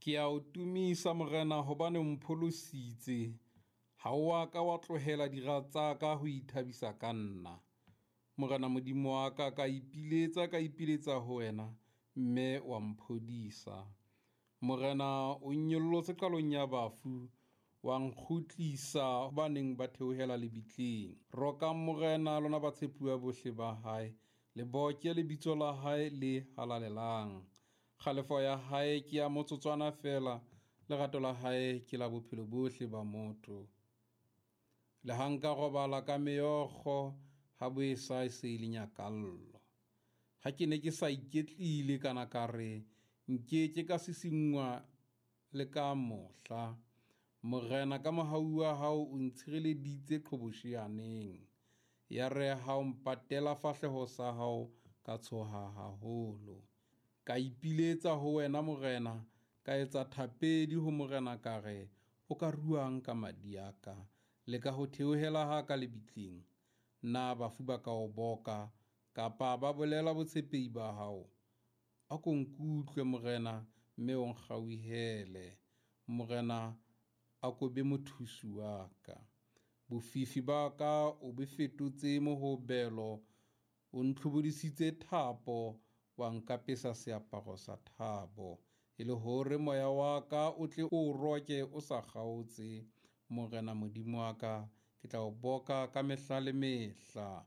Ke a o tumisa Morena hobane o mpholositse. Ha o a ka wa tlohela dira tsa ka ho ithabisa ka nna. Morena Modimo wa ka, ka ipiletsa, ka ipiletsa ho wena, mme wa mphodisa. Morena o nnyollotse qalong ya bafu, wa nkgutlisa ba neng ba theohela lebitleng. Rokang Morena lona batshepuwa bohle ba hae, le boke lebitso la hae le halalelang. Kgalefo ya hae ke ya motsotswana feela, lerato la hae ke la bophelo bohle ba motho. Le ha nka robala ka meokgo, ha bo esa e se e le nyakallo. Ha ke ne ke sa iketlile kana ka re, nkeke ka sisinngwa le ka mohla. Morena ka mohau wa hao o ntshireleditse qhobosheaneng. Yare ha o mpatela fahleho sa hao, ka tshoha haholo. Ka ipiletsa ho wena Morena, ka etsa thapedi ho Morena ka re, o ka ruang ka madi a ka, le ka ho theohela ha ka lebitleng? Na bafu ba ka o boka, kapa ba bolela botshepehi ba hao? A ko nkutlwe Morena, mme o nkgauhele. Morena, a ko be mothusi wa ka. Bofifi ba ka o bo fetotse mohobelo, o ntlhobodisitse thapo, wa nkapesa seaparo sa thabo, e le hore moya wa ka o tle o roke o sa kgaotse. Morena Modimo wa ka, ke tla o boka ka mehla le mehla.